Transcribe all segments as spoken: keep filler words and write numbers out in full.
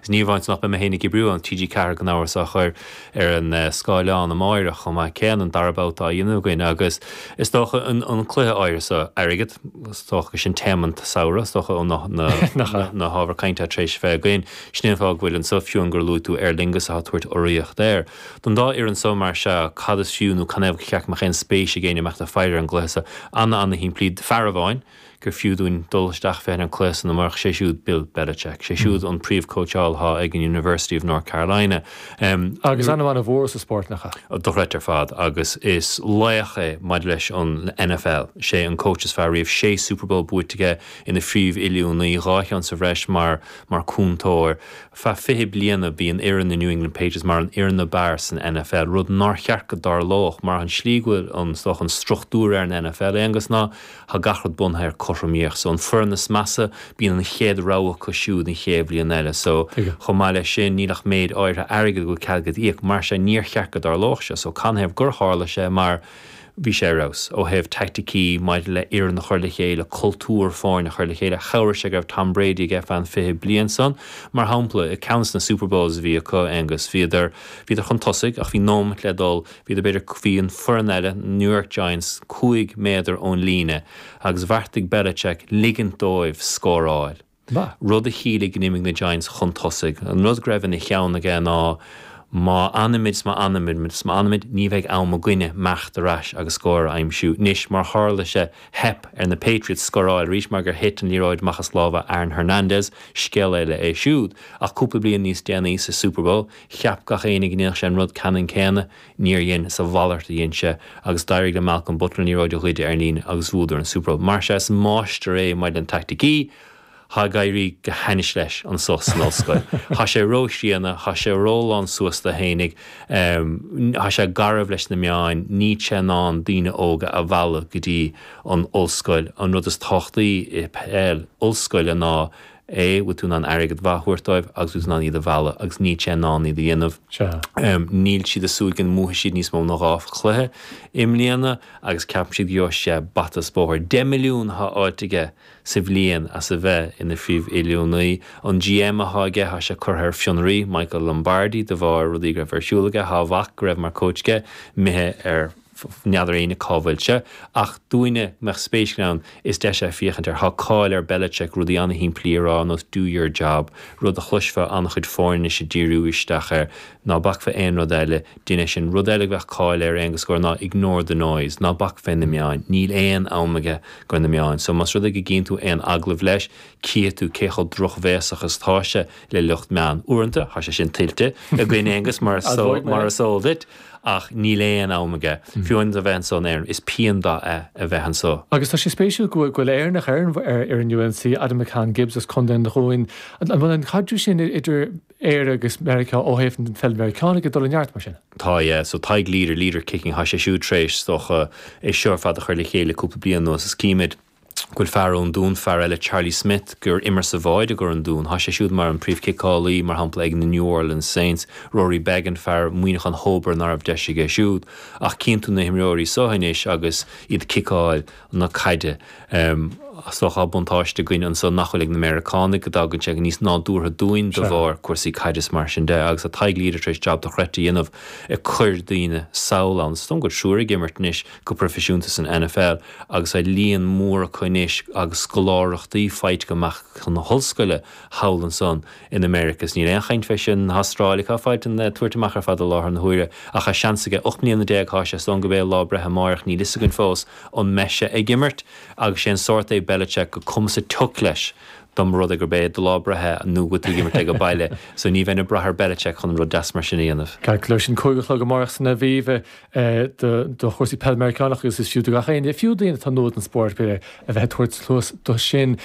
Is ní amháin nach mbeidh mé féin ag oibriú ann, T G Ceathair gan amhras á chur ar an scáileán amáireach chomh maith céanna, an dara babhta á dhéanamh againn agus is dócha an an cluiche áirithe so, airgead, is dócha gur sin téama an tsamhraidh, is dócha ó na na na hábhair cainte atá tar éis a bheith againn. Sin é an fáth go bhfuil anso, fiú amháin gur luaigh tú Aer Lingus atá ag tabhairt urraíocht air. Don dá fhoireann so mar sea, cad is fiú nó canathaobh gur cheart go mbeadh aon spéis ag éinne a mbeadh ag faire ar an gcluiche so? Ana ana shimplí, fear amháin gur fiú dúinn dul isteach féachaint ar an cluiche san amárach, sé siúd Bill Belichick. Sé siúd an príomhchóitseáil atá ag an University of North Carolina. Agus ainm ana mhór sa spórt, nach ea? Dochreidte ar fad agus is laoch é maidir leis an N F L. Sé an coach is fearr riamh, sé Super Bowl buaite aige ina phríomh-oiliúnaí, dhá cheann sa bhreis mar mar cúntóir. Feadh fiche bliana bhí an fhoireann na New England Patriots mar an fhoireann ab fhearr san N F L, rud nár cheart go dtarlódh mar an slí go bhfuil an stoch an struchtúr ar an N F L Aonghus ná tá gach rud bunaithe ar cothromaíocht. So an foireann is measa bíonn an chéad rogha acu siúd an chéad bhliain eile. So chomh maith leis sin níl ach méid áirithe airgid go bhfuil cead agat íoc, mar sin níor cheart go dtarlódh sé. So canathaobh gur tharla sé mar bhí sé ar fheabhas ó thaobh taicticí maidir le fhoireann a chur le chéile, cultúr foirne a chur le chéile, chabhraigh sé go raibh Tom Brady aige feadh an fiche bliain san. Mar shampla, i ceann de na Super Bowls a bhí acu Aonghus, bhíodar bhíodar chun tosaigh ach bhí nóiméad le dul, bhíodar b'fhéidir bhí an foireann eile, New York Giants, cúig méadar ón líne agus bheartaigh Belichick ligint dóibh scóráil. Rud a chiallaigh go n-imigh na Giants chun tosaigh. An rud go raibh ina cheann aige ná má fhanaimid má fhanaimid má fhanaimid ní bheidh am againne imeacht ar ais agus scór a aimsiú. Anois mar tharla sé theip ar na Patriots scóráil arís mar gur thit an liathróid amach as lámha Aaron Hernandez, scéal eile é siúd. Ach cúpla bliain níos déanaí sa Super Bowl, cheap gach éinne go ndéanfadh sé an rud ceannann céanna, níor dhein sa mhalairt a dhein sé agus d'éirigh le Malcolm Butler an liathróid a ghoid ar an líne agus bhuadar an Super Bowl. Mar sé is máistir é maidir le taicticí, Tá ag éirí go hainnis leis anso san ollscoil. Tá sé róchríonna, tá sé rólán suas de fhéinig, tá sé garbh leis na meáin, níl sé in ann daoine óga a mhealladh go dtí an ollscoil. An rud is tábhachtaí i peil ollscoile ná é bhfuil tú in ann airgead mhaith a thabhairt dóibh agus bhfuil tú in ann iad a mhealladh agus níl sé in ann iad a dhéanamh. Níl siad ag súil go mbuafaidh siad níos mó ná dhá chluiche i mbliana agus ceapann siad go gheobhaidh sé bata is bóthar. Deich milliún atá faighte aige sa bhliain as a bheith ina phríomh-oiliúnaí. An G M atá aige tá sé curtha ar fionraí Michael Lombardi de bharr rudaí go raibh ar siúl aige, tá a mhac go raibh mar coach aige imithe ar n'fheadar éinne cá bhfuil sé, ach dúinne mbeadh spéis ann is deis é féachaint air. Tá cáil ar Belichick rudaí an-shimplí a rá nós "do your job", rud a chloisfeá an-chuid foirne anois ag díriú isteach air, ná bac fé aon rud eile, déan é sin. Rud eile go bheadh cáil air Aonghus gur ná "ignore the noise", ná bac fé na meáin. Níl aon am aige do na meáin. So más rud é go gcíonn tú aon agallamh leis, cífidh tú cé chomh drochbhéasach is atá sé le lucht meán. Uaireanta tá sé sin tuillte againn Aonghus mar mar is eol duit, ach níl aon am aige. Fiú a bheith anso in Éirinn, is pian dó é a bheith anso. Agus tá sé spéisiúil go bhfuil Éireannach ar ar ar an U N C, Adam McCann Gibbs as Contae an Dúin. An bhfuil an caidreamh sin idir Éire agus Meiriceá ó thaobh an pheil Mheiriceánach ag dul i neart mar sin? Tá, yeah, so Tadhg Leader, Leader Kicking, tá sé siúd tar éis dócha é seo ar fad a chur le chéile cúpla bliain anuas is címid go bhfuil fear ón Dún, fear eile Charlie Smith gur imir sa bhád i gcur an Dún. Tá sé siúd mar an príomhchiceálaí mar shampla ag na New Orleans Saints, Rory Beggan fear Muineachán Hóbar ná raibh deis aige siúd. Ach cíonn tú na himreoirí seo anois agus iad ciceáil na caide. Um, so tá buntáiste againn anso nach bhfuil ag na Meiriceánaigh go dtagann sé níos nádúrtha dúinn de bharr cúrsaí caide is mar sin de agus a Tadhg Leader tar éis job dochreidte a dhéanamh ag cur daoine sall ann. Is dóigh go triúr ag imirt anois go proifisiúnta san N F L agus a líon mór acu anois agus scoláireachtaí faighte amach chun na hollscoile thall ansan in America. Níl aon chaint fé sin Astráil cá fáilt an tuairt amach ar fad i láthair na huaire ach tá seans aige ocht mbliana déag tá sé san go bé lá breithe amárach níl fhios againn fós an mbeidh sé ag imirt agus sé an sórt é Belichick go cuma sa tsioc leis dom rud gur bé do lá breithe nó go tú imirt ag an baile, so ní bheinn ag brath ar Belichick chun rud deas mar sin a dhéanamh. Ceart leis sin cúig a chlog amárach san Aviva do chúrsaí peil Meiriceánach agus is fiú do gach éinne fiú daoine atá nua don spórt a bheith tabhairt cluas do sin.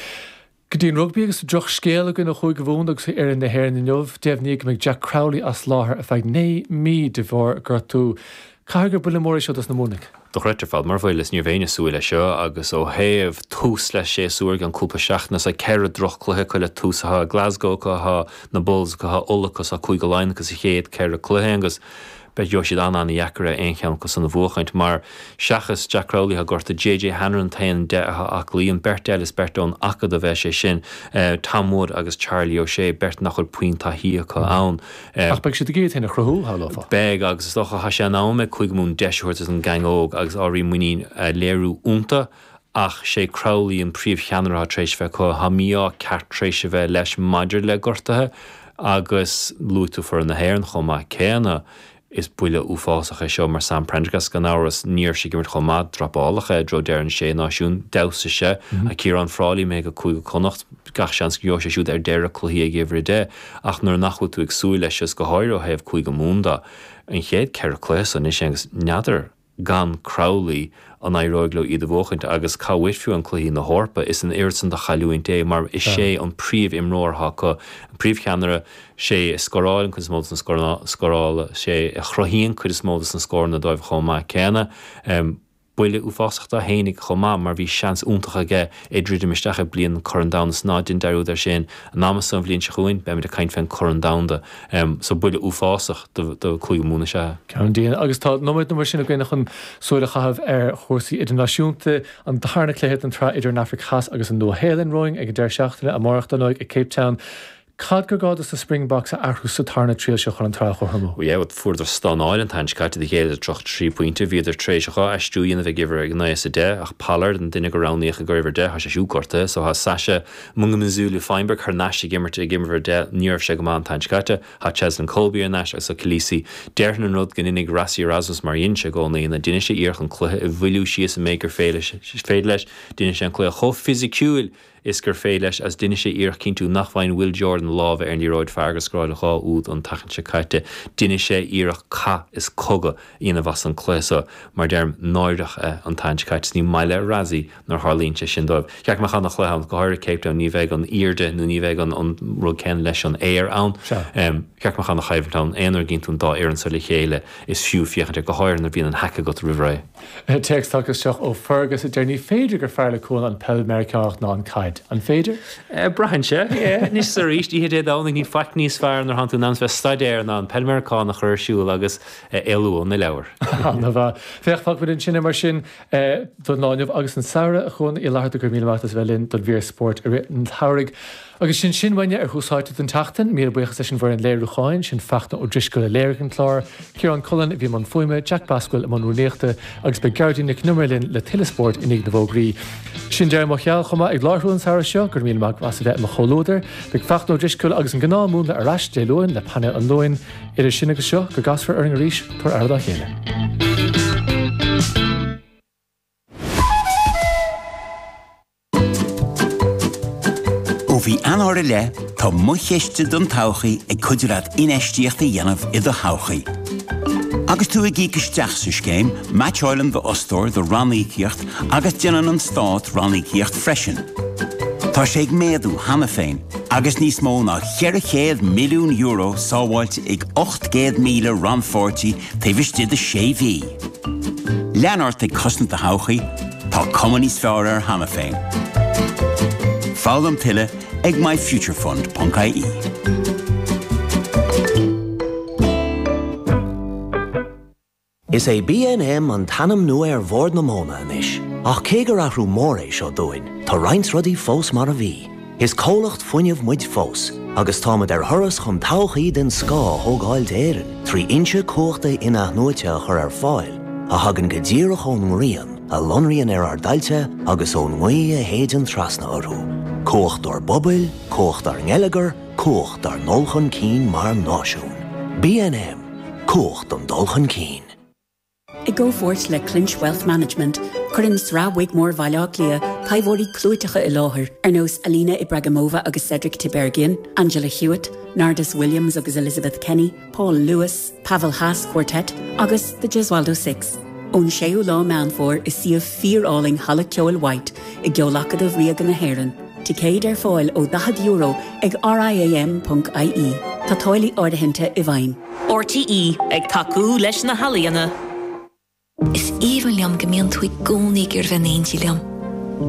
Go dtí an rugbaí agus drochscéal againn ó Chúige Mumhan agus ar na hÉireann inniu, deimhníodh go mbeidh Jack Crowley as láthair ar feadh naoi mí de bharr gortú. Caithfidh gur buille mór é seo dos na Muimhnigh. Dochreidte ar fad mar bhuel is níorbh éinne súil leis seo agus ó thaobh tús le séasúr gan cúpla seachtain sa ceithre drochchluiche acu le tús atá Glasgow acu na Bulls acu Uladh acu Cúige Laighean sa chéad ceithre cluiche agus Beidh gheobhaidh siad an-an-dheacair é aon cheann acu san a bhuachaint mar seachas Jack Crowley atá gortaithe, JJ Hanrahan an t-aon deich atá aclaí, an beirt eile is beirt ón acadamh é sé sin Tom Wood agus Charlie O'Shea, beirt nach bhfuil puinn taithí acu ann. Ach beidh siad ag iarraidh iad féin a chruthú, shamhlófá. Beidh agus is dócha tá sé in am ag Cúige Mumhan deis a thabhairt don gang óg agus áiríodh muinín a léiriú iontu. Ach sé Crowley an príomhcheannaire atá tar éis a bheith acu. Tá mí-ádh ceart tar éis a bheith leis maidir le gortuithe agus luaigh tú foireann na hÉireann chomh maith céanna. Is buille uafásach é seo mar Sam Prendergast gan amhras. Ní raibh sé ag imirt chomh maith, dropáladh é i dtreo deireadh an Sé Náisiún. D'fheabhsaigh sé. Tá Ciarán Frawley imithe go Cúige Connacht. Gach seans go gheobhaidh sé siúd ar deireadh cluichí ag uimhir a deich. Ach nuair nach bhfuil tú ag súil leis is go háirithe ó thaobh Cúige Mumhan de, an chéad ceithre cluiche san anois agus n'fheadar gan Crowley an éireoidh leo iad a bhuachaint agus cá bhfios fiú an cluichí na hEorpa, is an oiread san de chailliúint é mar is é an príomh-imreoir atá acu, an príomhcheannaire, sé a scórálann cuid is mó de na scórála, sé a chruthaíonn cuid is mó de na scóranna dóibh chomh maith céanna. Buille uafásach dó fhéinig chomh maith mar bhí seans iontach aige é druidim isteach i bliain an Corn Domhanda is ná déan dearúd air sin an am so an bhliain seo chugainn beimid ag caint fén Corn Domhanda. So buille uafásach do do Cúige Mumhan is ea é. Ceann dian. Agus tá nóiméad nó mar sin againn chun súil a chaitheamh ar chúrsaí idirnáisiúnta. An darna cluiche den tsraith idir an Afraic Theas agus an Nua-Shéalainn romhainn ag an deireadh seachtaine amárach dar ndóigh i Cape Town. Cad gur gá dos na Springboks a athrú sa tarna triail seo chun an tsraith a chothromú? Yeah, fuaireadar stánáil an tseachtain seo caite do ghéilleadar tríocha trí pointe. Bhíodar tar éis dhá aistriú a dhéanamh ag uimhir a naoi is a deich ach Pollard, an duine gur roghnaíodh ag uimhir a deich, tá sé siúd gortaithe so tá Sacha Mngomezulu Feinberg thar n-ais ag imirt ag uimhir a deich. Ní raibh sé go maith an tseachtain seo caite. Tá Cheslin Kolbe ar n-ais agus tá Kolisi. Déarfainn an rud go ndéanfaidh Rassie Erasmus mar a dhein sé i gcónaí ná déanfaidh sé iarracht an cluiche a mhoilliú síos an méid gur féidir leis. Déanfaidh sé an cluiche chomh fisiciúil is gur féidir leis agus déanfaidh sé iarracht cinntiú nach bhfaigheann Will Jordan a lámha ar an liathróid fear gur scóráil dhá úd an tseachtain seo caite. Déanfaidh sé iarracht cath is cogadh a dhéanamh as an cluiche seo mar deirim náireach é an tseachtain seo caite is ní maith le Rassie nuair a tharlaíonn sé sin dóibh. Cheart go mbeadh ana-chluiche ann, go háirithe Cape Town, ní bheidh an airde nó ní bheidh an rud céanna leis an aer ann. Cheart go mbeadh ana-choimhlint ann. Aon uair a gcíonn tú an dá fhoireann seo le chéile is fiú féachaint air, go háirithe nuair a bhíonn an haic agat roimh ré. Téacs tagtha isteach ó Fergus a deir ní féidir gur fearr le Cuan an peil Meiriceánach ná an caid. An féidir? Braitheann sé. Anois is arís, oíche Dé Domhnaigh, níl faic níos fearr nuair atánn tú in ann bheith ag staidéar ná an peil Meiriceánach a chur ar siúl agus éalú ó na leabhair. Ana-mhaith. Féach, fágfaimid ansin é mar sin don lá inniu agus an samhradh, a Chuan Uí Fhlatharta, go raibh míle maith agat as a bheith linn don mhír spóirt i rith an tsamhraidh. Agus sin sin uainne ar Thús Áite don tseachtain. Míle buíochas leis an bhfoireann léiriúcháin, sin Fachtna Ó Drisceoil a léirigh an clár, Ciarán Cullen a bhí i mbun fuaime, Jack Basquill i mbun rúnaíochta agus beidh Gearóidín Nic Con Iomaire linn le tuilleadh spóirt i ndiaidh na bhfógraí. Sin deireadh mo sheal chomh maith ag láithriú an samhradh seo, go raibh míle maith agat as a bheith i mo chomhluadar. Beidh Fachtna Ó Drisceoil agus an gnáthmhúnla ar ais Dé Luain le painéal an Luain. Idir sin agus seo, go gcasfar orainn arís, tabhair aire dá chéile. Ó mhí Eanáir i leith, tá Mo Chiste don Todhchaí ag cuidiú leat infheistíocht a dhéanamh i do thodhchaí. Agus tú ag íoc isteach sa scéim, meaitseáileann d'fhostóir do ranníocaíocht agus déanann an Stát ranníocaíocht freisin. Tá sé ag méadú cheana féin agus níos mó ná ceithre chéad milliún euro sábháilte ag ocht gcéad míle rannpháirtí taobh istigh de sé mhí. Lean ort ag cosaint do thodhchaí, tá cuma níos fearr air cheana féin. Foghlaim tuilleadh ag myfuturefund ponc ie. Is é BNM an t-ainm nua ar Bhord na Móna anois, ach cé gur athrú mór é seo dúinn, tá roinnt rudaí fós mar a bhí. Is comhlacht fuinnimh muid fós, agus táimid ar thuras chun todhchaí den scoth a thógáil d'Éirinn trí fhoinse cumhachta in-athnuaite a chur ar fáil a thagann go díreach ón ngrian, a lonraíonn ar ár dtailte agus ón ngaoth a shéideann trasna orthu. Cumhacht dár bpobail, cumhacht dár ngeilleagar, cumhacht dár ndul chun cinn mar náisiún. BNM, Cumhacht don dul chun cinn. I gcomhpháirt le Clinch Wealth Management, cuireann Sraith Wigmore Bhaile Átha Cliath taibheoirí clúiteacha i láthair ar nós Alina Ibragimova agus Cedric Tiberghien, Angela Hewitt, Nardus Williams agus Elizabeth Kenny, Paul Lewis, Pavel Haas Quartet agus The Gesualdo Six. Ón séú lá Meán Fómhair i suíomh fíor-álainn Halla Ceoil White i gCeol-Acadamh Ríoga na hÉireann. Ticéid ar fáil ó daichead euro ag riam.ie. Tá táillí áirithinte i bhfeidhm. RTÉ, ag tacú leis na healaíona. Is aoibhinn liom go mbíonn tú i gcónaí ag iarraidh bheith in éindí liom.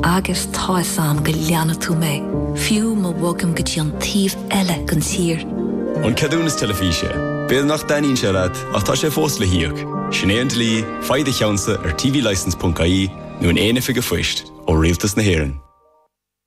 Agus tá 'fhios a'm go leanfaidh tú mé, fiú má bhogaim go dtí an taobh eile den tír. An Ceadúnas Teilifíse, B'fhéidir nach dtaitníonn sé leat ach tá sé fós le híoc. Sin é an dlí faigh do cheannsa ar tvlicence.ie nó in aon oifig an phoist ó Rialtas na hÉireann.